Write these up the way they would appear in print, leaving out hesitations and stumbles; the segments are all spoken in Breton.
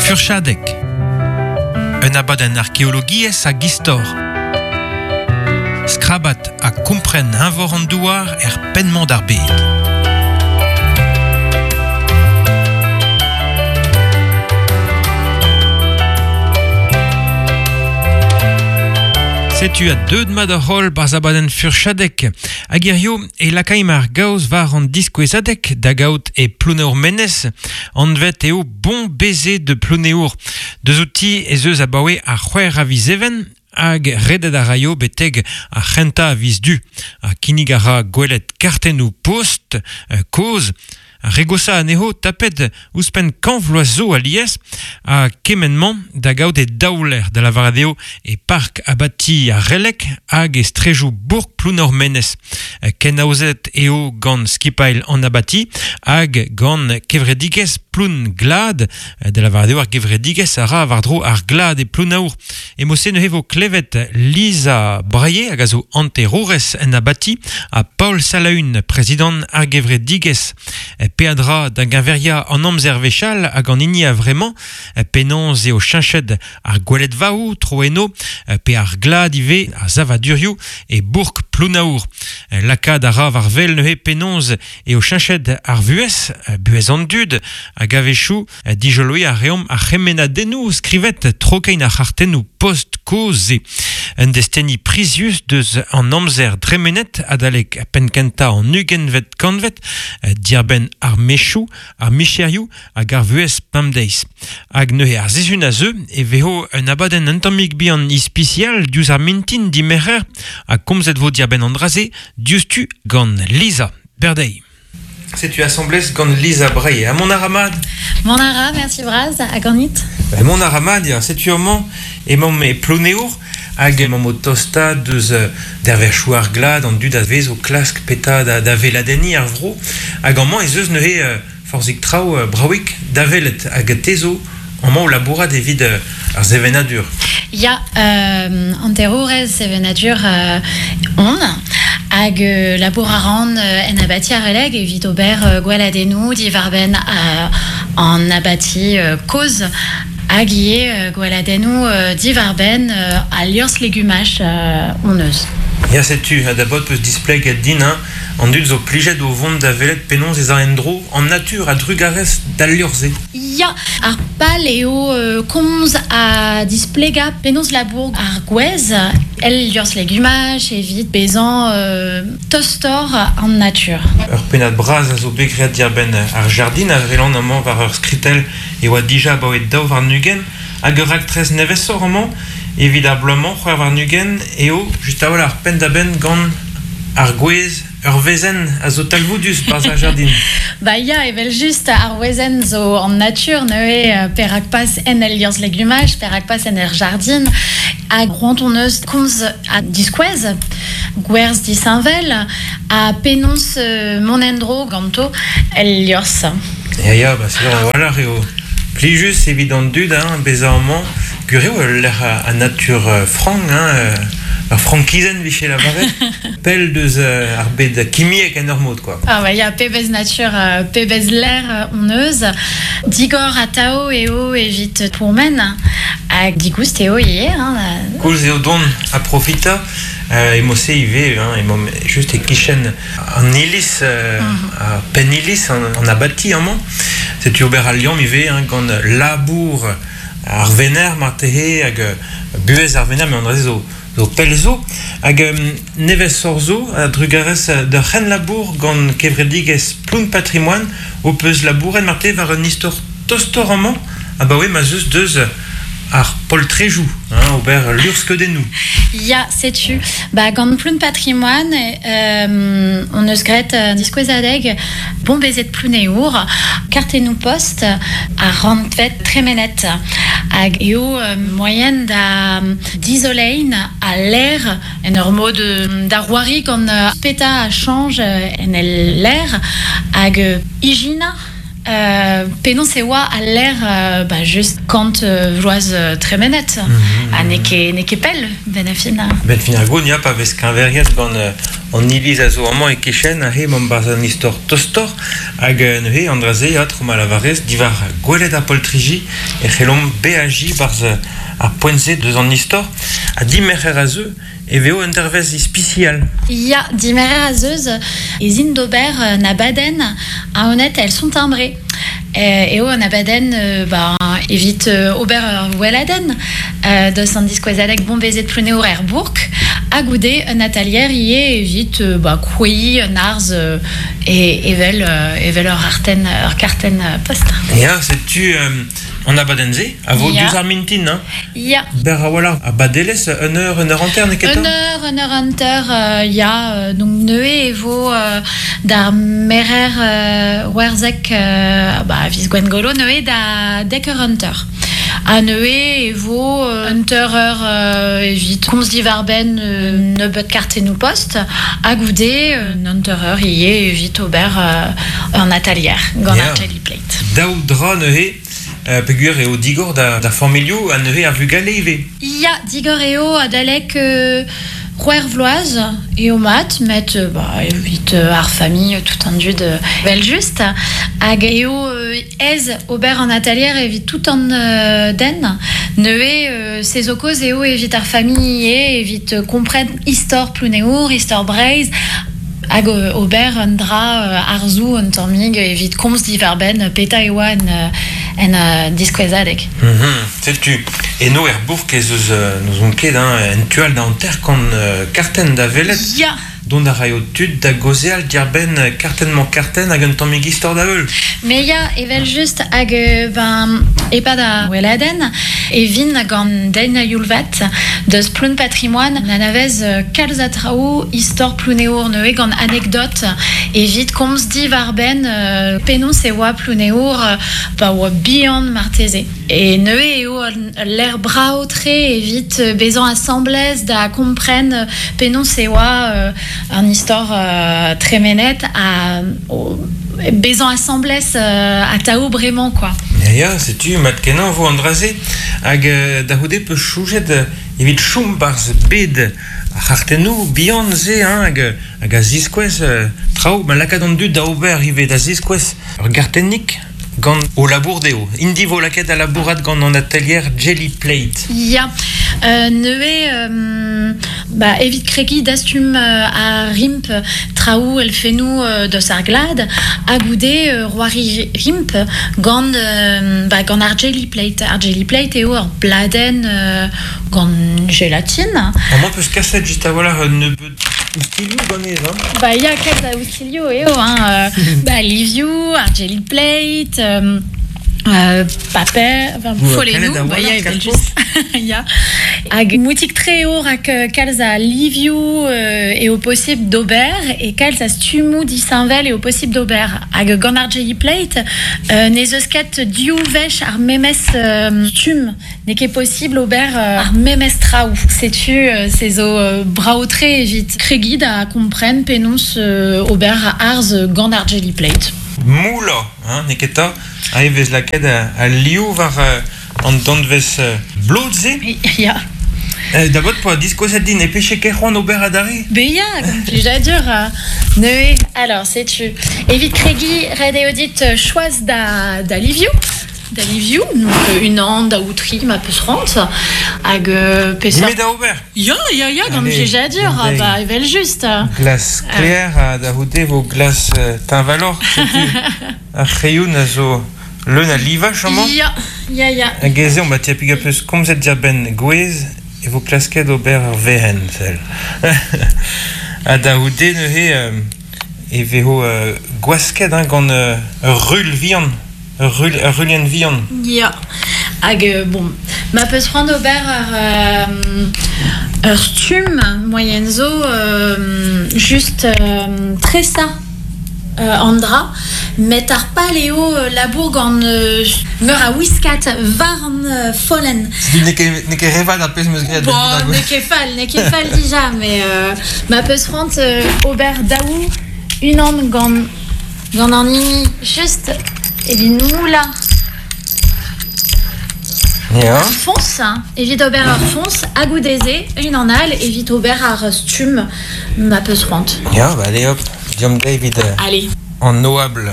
Furchadeg. Un abadenn arkeologiezh hag istor. Skrabat ha kompren eñvor an douar er penn-mañ d'ar bed. Setu a deuet mat ar holl barzh abadenn Furchadeg. Hag hirio e lakaimp ar gaoz war an diskouezadeg da gaout e Plouneour-Menez. Anvet eo Bon baiser de Plouneour. Deus outi ez eus abaoe ar c'hwec'h a viz Even hag redet a raio betek ar c'hentañ a viz Du. Ha kinnig a ra gwelet kartennoù post kozh Ar re goshañ anezho tapet ouzhpenn kant vloaz zo alies ha kement-mañ da gaout e daoulec'h, da lavaret eo e park abati ar Releg hag e strejoù bourk Plouneour-Menez. Kenaozet eo gant skipailh an abati hag gant kevredigezh Ploun Glad, da lavaret eo ar gevredigezh a ra war-dro ar glad e Plounaour. E mod-se neuze vo klevet Lisa Braillet hag a zo hanterourez en abati ha Paol Salaun, prezidant ar gevredigezh. Peadra da geñveriañ an amzer wechall hag an hini a-vremañ, penaos eo cheñchet ar gweledvaoù tro eno, pe ar glad ivez, ar savadurioù e bourk Plounaour. Lakaat a ra war wel neuze penaos eo cheñchet ar vuhez, buhez an dud, hag a-wechoù Dijoloiñ a reomp ar c'hemennadennoù skrivet tro-kein ar c'hartennoù post kozh-se. Un desteni prizius deus an amzer dremenet adalek penn-kentañ an ugentvet kantved, diarbenn ar mechoù, ar micherioù hag ar vuhez pemdeiz. Hag neuze ar sizhun a zeu e vezo un abadenn un tammig bihan ispisial diouzh ar mintin dimerc'her ha komzet vo diarbenn an dra-se diouzhtu gant Lisa Berdey. Setu asambles gant Lisa Bray. Ha mont a ra mat? Mont a ra, merci bras, ha ganit? Ben, mont a ra mat, ya. Setu amañ emaomp e Plouneour hag emaomp o tostaat deus dervezhioù ar glad, an dud a vez o klask petra da, da weladenniñ ar vro. Hag amañ ez eus neuze forzhik traoù bravik da welet. Hag te zo amañ o labourat evit ar sevenadur. Ya, hanterourez sevenadur on hag labour a ran en abati ar Releg evit ober gweladennoù diwar-benn an abati kozh hag ivez gweladennoù diwar-benn al liorzh legumaj hon eus. Ya, setu, ha da baotr 'peus displeget din, hein, an dud zo plijet o vont da welet penaos ez a en-dro an natur a-drugarez d'al liorzh-se. Ya, ar pal eo komz ha displegañ penaos labour ar gwez el liorzh legumaj evit bezañ tostoc'h an natur. Ur pennad bras a zo bet graet diarbenn ar jardin a welan amañ war ur skritell e oa dija abaoe 22 hag ur raktres nevesoc'h amañ evit ar bloaz-mañ 26 eo just a-walc'h penn-da-benn gant ar gwez Ur wezenn a zo talvoudus barzh ar jardin. Ba ya, evel-just, ar wezenn zo an natur neuze, perak pas en el liorzh legumaj, perak pas en ur jardin. Hag c'hoant hon eus komz ha diskouez gwerzh disheñvel ha penaos mont en-dro ganto el liorzh. Ya, ya, ba sur a-walc'h eo plijus evit an dud hein, bezañ amañ. Gwir eo ul lec'h a natur frank, hein, ur frankizenn 'vije lavaret. Pell deus ar bed kimiek en ur mod, quoi. Ah bah ya, pebezh natur, pebezh lec'h hon eus. Digor atav eo evit pourmen hag digoust eo ivez. Hein. Koulz eo dont ha profitañ. E-mod-se ivez, hein, emaomp just e-kichen an iliz, ar penn-iliz, an abati amañ. Setu ober al liamm ivez hein, gant labour ar venec'h marteze hag buhez ar venec'h, met an dra-se zo zo pell zo hag nevesoc'h zo a-drugarez d'ur c'henlabour gant kevredigezh Ploun Patrimoine ho peus labouret marteze war un istor tostoc'h amañ abaoe ma 'z eus deus ar poltrejoù, hein, ober luc'hskeudennoù. Ya, setu. Ba, gant Ploun Patrimoine hon eus graet un diskouezadeg Bombezet Plouneour, kartennoù-post ar rannved tremenet hag eo moaien da dizoleiñ al lec'h en ur mod da c'hoari gant petra a chañj en el lec'h hag ijinañ penaos e oa al lec'h ba just kant vloaz tremenet ha n'eo ket n'eo ket pell benn ar fin. Benn fin ar goun ya pa vez keñveriet gant an iliz a zo amañ e-kichen aze emañ 'barzh an istor tostoc'h hag neuze an dra-se ya tro ma lavarez diwar gwelet ar poltriji e c'hellomp beajiñ 'barzh ar poent-se deus an istor ha dimerc'her a zeu e vezo un dervezh ispisial. Ya, dimerc'her a zeus ez int d'ober un abadenn aonet elles sont timbrées. Eo un abadenn ba, evit ober ur weladenn deus an diskouezadeg Bon-Baiser de Plounéour er bourk ha goude un atalier ivez evit ba, krouiñ un arz evel evel ur artenn ur kartenn post. Ya, setu An abadenn-se a vo diouzh ar mintin, hein? Ya. Berr a-walc'h a badelezh, un eur, un eur hanter, n'eo ket Un eur, un eur hanter, ya. Donc neuze e vo d'ar merer werzhek, ba, a viz Gwengolo, neuze da dek eur hanter. Ha neuze e vo un teur eur evit komz diwar-benn un nebeud kartennoù-post, ha goude un hanter eur ivez evit ober un atalier gant ar Jelly Plate. Daou dra neuze, peogwir eo digor d'ar familhoù ha neuze ar vugale ivez. Ya, digor eo adalek c'hwec'h vloaz eo mat, met ba, evit ar familh, tout an dud evel-just. Hag eo aes ober an atalier evit tout an den. Neuze, se zo kaoz eo evit ar familh ivez, evit kompren istor Plouneour, istor Breizh, Hag ober un dra arzoù un tammig evit komz diwar-benn petra e oa en diskouezadeg. Setu, eno er bourk ez eus, n'ouzon ket, hein, en tu all da hanter-kant kartenn da welet. Ya! Dont a raio tud da gaozeal diàr-benn kartenn-mañ-kartenn hag un tammig istor da heul. Me ya, evel-just, hag ben, e-pad ar weladenn e vin gant den a-youl-vat deus Ploun Patrimoine n'anavez kalz a traoù istor Plouneour neuze gant anekdot evit komz diwar-benn penaos e oa Plouneour pa oa bihan marteze. E neuze eo ul lec'h brav-tre evit bezañ asambles da kompren penaos e oa an istor tremenet ha bezañ asambles atav bremañ kwa. Ya, ya, setu mat-kenañ 'vo an dra-se. Hag da c'houde 'peus soñjet evit chom 'barzh bed ar c'hartennoù bihan-se hein, hag, hag a ziskouez traoù ma lakaat an dud da ober ivez, da ziskouez ur gartennig Gant o labour dezho. Int vo lakaet da labourat gant an atelier Jelly Plate. Ya, neuze ba, evit kregiñ dastum ar rimp traoù elfennoù deus ar glad ha goude c'hoari rimp gant ba, gant ar Jelly Plate. Ar Jelly Plate eo ur bladenn gant gelatine. Amañ 'peus kaset just a-walc'h un nebeud oustilhoù ganez, hein? Ba ya, kalz a oustilhoù eo, hein. Ba livioù, ar jelly plate, paper, enfin, follennoù, ba ya, evel-just. Ya. Hag moutik-tre eo rak kalz a livioù eo posibl d'ober e kalz a stummoù disheñvel eo posibl d'ober. Hag gant ar jelly plate, n'ez eus ket div wech ar memes stumm. N'eo ket posibl ober ar memes traoù. Setu se zo brav-tre evit kregiñ da kompren penaos ober arz gant ar jelly plate. Moulañ, hein, n'eo ket 'ta? Aze e vez lakaet al liv war an danvez blot-se. Ya. Da bot 'poa diskouezet din e peche ket c'hoant ober adarre? Ben ya, gant plijadur. Neuze, alors setu, evit kregiñ, ret eo dit choaz da, da livioù. Da livioù, donc unan, daou, tri, ma peus c'hoant. Hag peseurt... Me da ober? Ya, ya, ya, gant plijadur, bah, evel-just. Glas sklaer, ha da c'houde vo glas teñvaloc'h, setu ar c'hreioun a zo leun a livaj amañ. Ya, ya, ya. Hag ez eo, ma tiapig a peus komzet diarbenn gwez, e vo klasket ober ur verenn, sell. Ha da c'houde neuze e vezo gwasket hein, gant ur rul vihan. Ur ruilhenn vihan. Ya. Hag bon, ma peus c'hoant ober ur stumm moaien zo just tresañ an dra, met ar pal eo labour gant meur a wiskad war an follenn. Setu n'eo ket re vat ar pezh 'm eus graet. Bon, n'eo ket fall, n'eo ket fall dija, met ma peus c'hoant ober daou, unan gant Gant an hini just evit moullañ. Ya. Ar foñs, evit ober ar foñs, ha goude-se, unan all evit ober ar stumm ma peus c'hoant. Ya, ba allez hop, deomp dezhi evit Allez. An oabl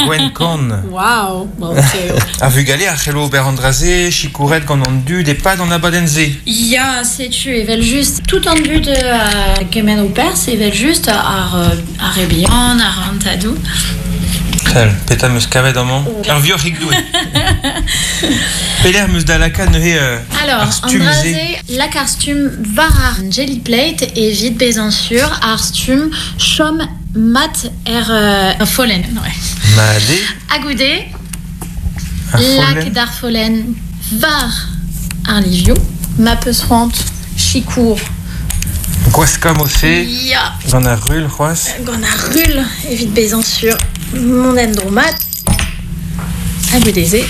gwenn-kann. Waouh, brav-tre eo. Ar vugale a c'hello ober an dra-se, sikouret gant an dud e-pad an abadenn-se. Ya, setu evel-just tout an dud a gement ho perzh evel-just, ar ar re bihan, ar an tadoù. Sell, petra 'm eus kavet amañ? Ur vioc'hig doue. Pelec'h 'm eus da lakaat neuze Alors, ar an stumm-se? dra-se, lak ar stumm war ar jelly plate evit bezañ sur ar stumm chom Mat er euh, follenn. Ouais. Mat eo. Ha goude, Ar follenn. lak d'ar follenn war ar livioù. Ma peus c'hoant sikour. Gwaskañ mod-se. Ya. Gant ar rul c'hoazh. Gant ar rul, evit bezañ sur mont en-dro mat. Ha goude-se,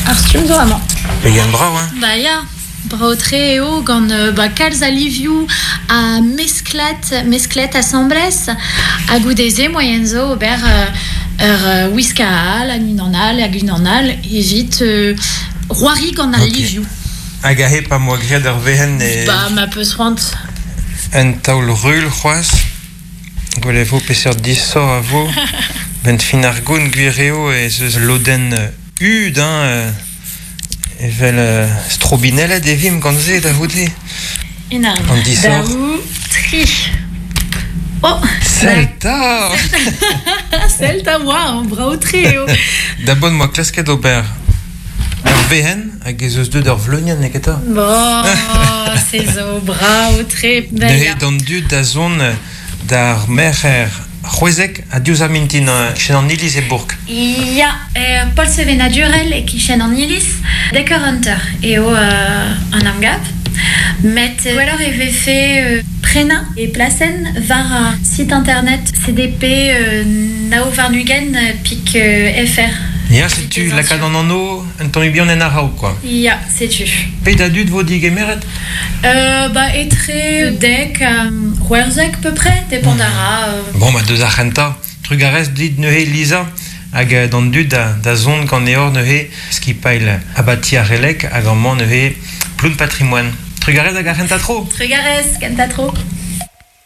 ar stumm zo amañ. Pegen brav, hein? Bah ya. Brav-tre eo gant ba kalz a livioù ha mesklat mesklet asambles ha goude-se moaien zo ober ur wiskañ all hag unan all hag unan all evit c'hoari gant al livioù. Hag aze pa 'm boa graet ur wezenn e... Ba ma peus c'hoant. Un taol rul c'hoazh. Gwelet e vo peseurt disoc'h a vo. 'Benn fin ar gont gwir eo ez eus lodenn hud hein Evel strobinellet e vimp gant se da c'houde. Unan, An disoc'h. daou, tri. Oh! Sell 'ta! Sell 'ta, waouh, brav-tre eo. Da bon 'moa klasket ober ur wezenn hag ez eus deuet ur vleunienn neketa? Bon, se zo brav-tre. Neuze d'an dud da zont d'ar merc'her c'hwezek ha diouzh ar mintin e-kichen an iliz e bourk. Ya, er pol sevenadurel e-kichen an iliz, dek eur hanter eo an emgav. Met gwelloc'h e vefe prenañ e plasenn war ar site internet cdp 29 pik fr. Ya, setu lakaat an anv un tammig bihan en a-raok kwa. Ya, setu. Pet a dud vo digemeret? Ba etre dek ha c'hwezek peu près, depend a ra. Bon, ba deus ar c'hentañ. Trugarez dit neuze Lisa hag d'an dud da zont ganeoc'h neuze skipailh abati ar Releg hag amañ neuze Ploun Patrimoine. Trugarez hag ar c'hentañ tro. Trugarez, kentañ tro.